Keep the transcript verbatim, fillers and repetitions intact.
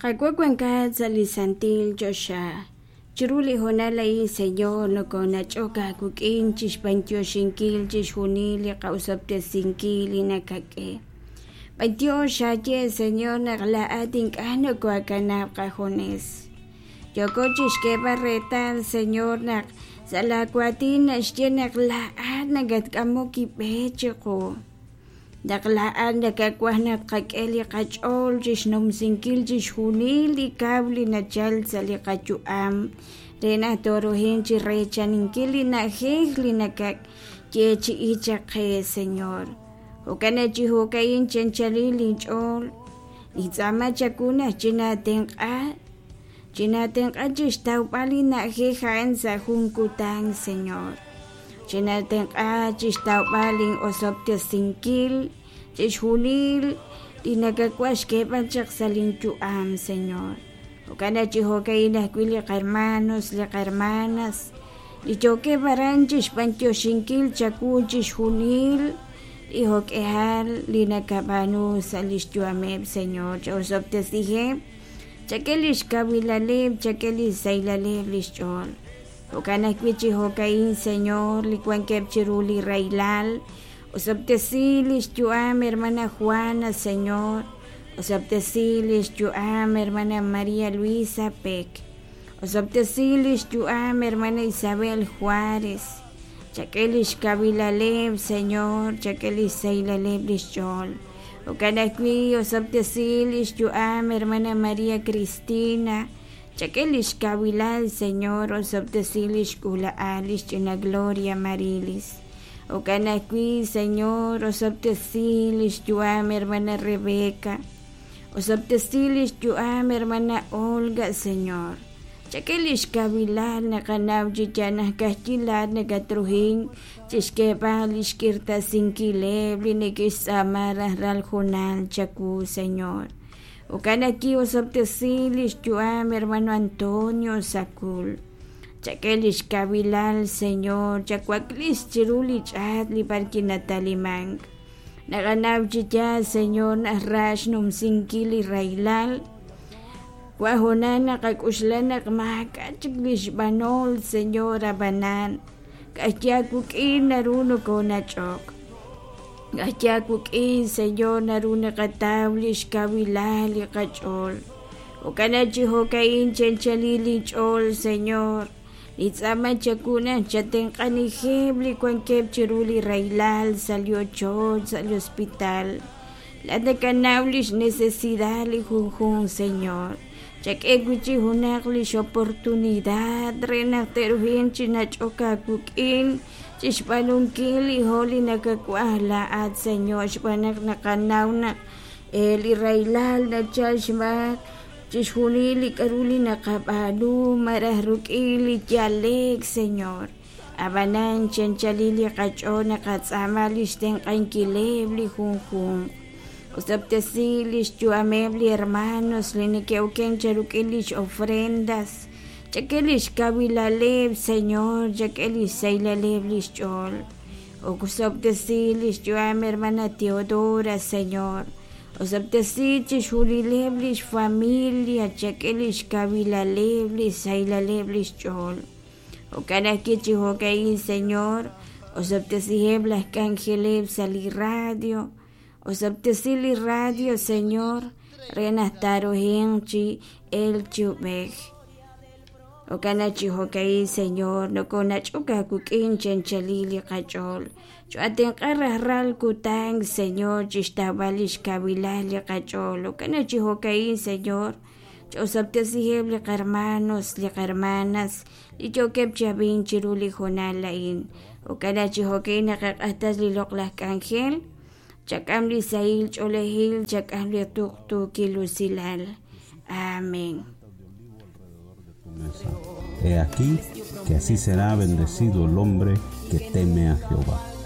Qaawa' wankat sa' li santil choxa. Chiru li hoonal a'in, Señor, nokonach'ok aawik'in chixb'antioxinkil chixjunil li qa'osob'tesinkil li nakak'e. B'antiox xaye, Señor, naq laa'at ink'a' nokoakanab' qajunes. Yoko chixk'eeb'al reetal, Señor, naq sa' laawaatin naxye naq laa'at nakatk'amok ib'e chiqu. Naq laa'at nakawaj naq tqak'e li qach'ool chixnumsinkil chixjunil li kaw li nachal sa' li qayu'am re naq tooruhin chi reechaninkil li na'ajej li nakayeechi'i chaq qe, Señor. Jo'kan naq chi jo'ka'in chanchalil linch'ool nintz'aama chawu naq chinatenq'a chinatenq'a chixtawb'al li na'ajej a'an sa' jun kutan, Señor. Chinatenq'a chixtawb'al lin'osob'tesinkil chixjunil li nakawaj xk'eeb'al chaq sa' linyu'am, Señor. Jo'kan naq chi jo'ka'in ajwi' li qarmanos, li qarmanas, li yookeb' aran chixb'antioxinkil chawu chixjunil li jo'k'ehal li nakab'aanu sa' lix yu'ameb', Señor. Cha'osob'tesiheb', chak'e lix kawilaleb', chak'e lix sahilal lix ch'ool. Jo'kan ajwi' chi jo'ka'in, Señor, li wankeb' chiru li rahilal, osob'tesi lix yu'am hermana Juana, Señor. Osob'tesi lix yu'am hermana María Luisa Peck. Osob'tesi lix yu'am hermana Isabel Juárez. Chak'e lix kawilaleb', Señor, chak'e lix sahilal lix ch'ool. Jo'kan ajwi' osob'tesi lix yu'am hermana María Cristina. Chak'e lix kawilal, Señor, osob'tesi lix k'uula'al lix ch'ina Gloria Marilis. Jo'kan ajwi', Señor, osob'tesi lix yu'am hermana Rebeca. Osob'tesi lix yu'am hermana Olga, Señor. Chak'e lix kawilal naqanaw chi yal ka'ajwi' laa'at nakatruhin chixk'eeb'al lix k'irtasinkileb' li neke'xtz'aama rajlal junal chawu, Señor. Jo'kan ajwi' osob'tesi lix yu'am hermano Antonio Sacul. Chak'e lix kawilal, Señor, chawaklis chiru li ch'aat li b'ar kinatalimank. Naqanaw chi yaal, Señor, naq ra xnumsinkil li rahilal. Wa hoonal naqak'uxla naq maak'a' chik lix b'anol, Señor, ab'anan. Ka'ajwi' aawik'in naru nokonach'ok. Ka'ajwi' aawik'in, Señor, naru naqataw lix kawilal li qach'ool. Jo'kan naq chi jo'ka'in chanchalil linch'ool, Señor. Nintz'aama chawu naq chatenq'anijeb' li wankeb' chiru li rahilal sa' li ochoch, sa' li hospital. Laa'at nakanaw lix necesidad li junjunq, Señor. Chak'e wi'chik junaq lix oportunidad re naq te'ruhin chi nach'ok aawik'in chixb'aanunkil li jo' li nakawaj laa'at, Señor, xb'aan naq naqanaw naq li rahilal nachal xmaak chixjunil li k'a'ru li naqab'aanu malaj ruk'in li yalek, Señor. Ab'anan chanchalil li qach'ool naqatz'aama lix tenq'ankileb' li junjunq. Osob'tesi lix yu'ameb' li hermanos li neke'oken cheruk'in lix ofrendas. Chak'e lix kawilaleb', Señor, chak'e lix sahilal lix ch'ool. Osob'tesi lix yu'am hermana Teodora, Señor. Osob'tesi chixjunileb' lix familia, chak'e lix kawilaleb', lix sahilal lix ch'ool. Jo'kan ajwi' chi jo'ka'in, Señor, osob'tesiheb' laj k'anjeleb' sa' li radio. Osob'tesi li radio, Señor, re naq taaruhin chi el chub'ej. Jo'kan naq chi jo'ka'in, Señor, nokonach'ok aawik'in chanchalil li qach'ool. Cho'atenq'a rajlal kutan, Señor, chixtawb'al lix kawilal li qach'ool. Jo'kan naq chi jo'ka'in, Señor, ch'osob'tesiheb' li qarmanos, li qarmanas, li yookeb' chi ab'ink chiru li hoonal a'in. Jo'kan naq chi jo'ka'in naqaq'ajtas li loq'laj k'anjel. Chak'am li sahil ch'oolejil, chak'am li tuqtuukil usilal. Amén. He aquí que así será bendecido el hombre que teme a Jehová.